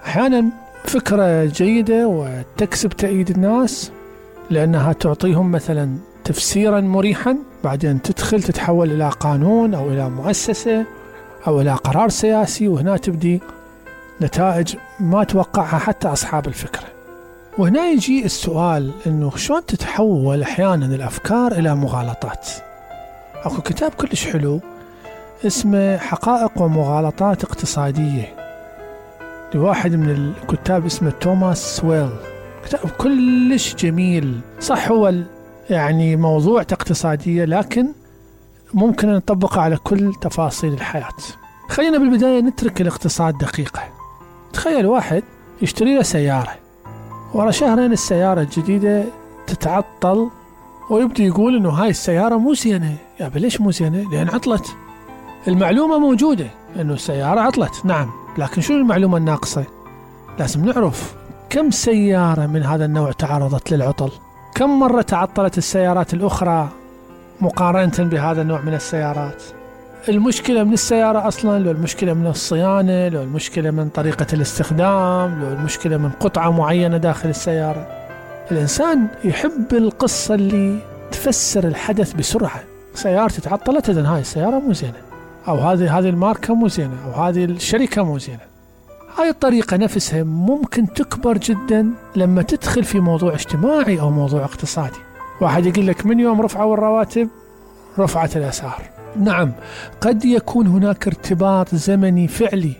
أحيانا فكرة جيدة وتكسب تأييد الناس لأنها تعطيهم مثلا تفسيرا مريحا، بعدين تدخل تتحول إلى قانون أو إلى مؤسسة أو إلى قرار سياسي، وهنا تبدي نتائج ما توقعها حتى أصحاب الفكرة. وهنا يجي السؤال إنه شلون تتحول أحيانا الأفكار إلى مغالطات. أكو كتاب كلش حلو اسمه حقائق ومغالطات اقتصادية لواحد من الكتاب اسمه توماس سويل، كتاب كلش جميل. صح هو يعني موضوع اقتصادية لكن ممكن نطبقه على كل تفاصيل الحياة. خلينا بالبداية نترك الاقتصاد دقيقة. تخيل واحد يشتري له سيارة، ورا شهرين السيارة الجديدة تتعطل ويبدأ يقول إنه هاي السيارة مو زينة. يا ليش مو زينة؟ لأن عطلت. المعلومة موجودة إنه السيارة عطلت، نعم، لكن شو المعلومة الناقصة؟ لازم نعرف كم سيارة من هذا النوع تعرضت للعطل، كم مرة تعطلت السيارات الأخرى مقارنة بهذا النوع من السيارات. المشكلة من السيارة أصلا، لو المشكلة من الصيانة، لو المشكلة من طريقة الاستخدام، لو المشكلة من قطعة معينة داخل السيارة. الإنسان يحب القصة اللي تفسر الحدث بسرعة. سيارتي تعطلت، إذن هاي السيارة مو زينة، أو هذه الماركة مو زينة، أو هذه الشركة مو زينة. هاي الطريقة نفسها ممكن تكبر جدا لما تدخل في موضوع اجتماعي أو موضوع اقتصادي. واحد يقول لك من يوم رفعوا الرواتب رفعت الأسعار. نعم، قد يكون هناك ارتباط زمني فعلي،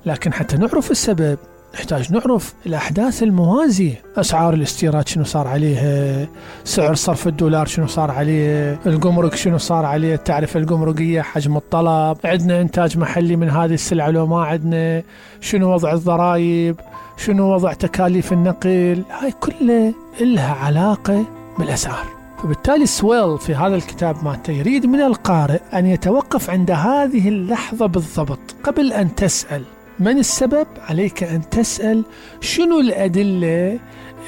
لكن حتى نعرف السبب نحتاج نعرف الأحداث الموازية. أسعار الاستيراد شنو صار عليها، سعر صرف الدولار شنو صار عليه، الجمرك شنو صار عليه، التعرفة الجمركية، حجم الطلب، عندنا إنتاج محلي من هذه السلعة لو ما عندنا، شنو وضع الضرائب، شنو وضع تكاليف النقل. هاي كلها إلها علاقة بالأسعار. فبالتالي سويل في هذا الكتاب مالته يريد من القارئ أن يتوقف عند هذه اللحظة بالضبط. قبل أن تسأل من السبب، عليك أن تسأل شنو الأدلة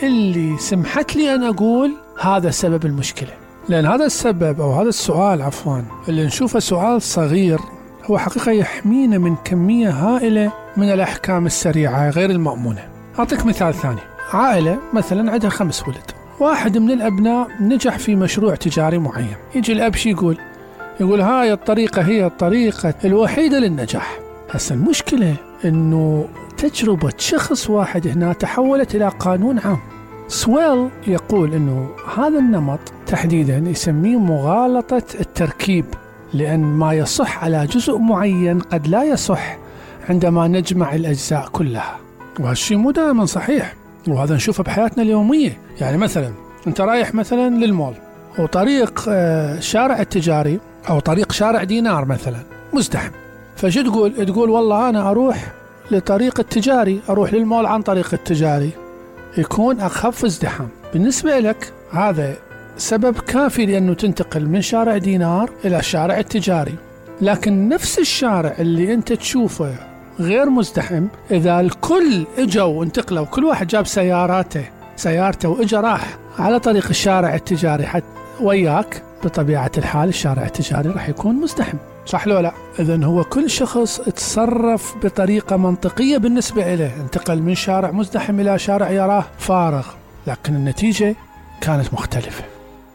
اللي سمحت لي أن أقول هذا سبب المشكلة. لأن هذا السبب أو هذا السؤال عفوا اللي نشوفه سؤال صغير هو حقيقة يحمينا من كمية هائلة من الأحكام السريعة غير المأمونة. أعطيك مثال ثاني. عائلة مثلا عندها 5 ولد، واحد من الأبناء نجح في مشروع تجاري معين. يجي الأب شي يقول هاي الطريقة هي الطريقة الوحيدة للنجاح. هسه المشكلة إنه تجربة شخص واحد هنا تحولت إلى قانون عام. سويل يقول إنه هذا النمط تحديدا يسميه مغالطة التركيب، لأن ما يصح على جزء معين قد لا يصح عندما نجمع الأجزاء كلها. وهالشيء مو دائما صحيح، وهذا نشوفه بحياتنا اليومية. يعني مثلا أنت رايح مثلا للمول، وطريق شارع التجاري أو طريق شارع دينار مثلا مزدحم، فشو تقول والله أنا أروح لطريق التجاري، أروح للمول عن طريق التجاري يكون أخف ازدحام. بالنسبة لك هذا سبب كافي لأنه تنتقل من شارع دينار إلى الشارع التجاري. لكن نفس الشارع اللي أنت تشوفه غير مزدحم، إذا الكل اجوا وانتقلوا، كل واحد جاب سيارته وإجا راح على طريق الشارع التجاري حتى وياك، بطبيعة الحال الشارع التجاري راح يكون مزدحم، صح لو لا؟ إذن هو كل شخص تصرف بطريقة منطقية بالنسبة إليه، انتقل من شارع مزدحم إلى شارع يراه فارغ، لكن النتيجة كانت مختلفة.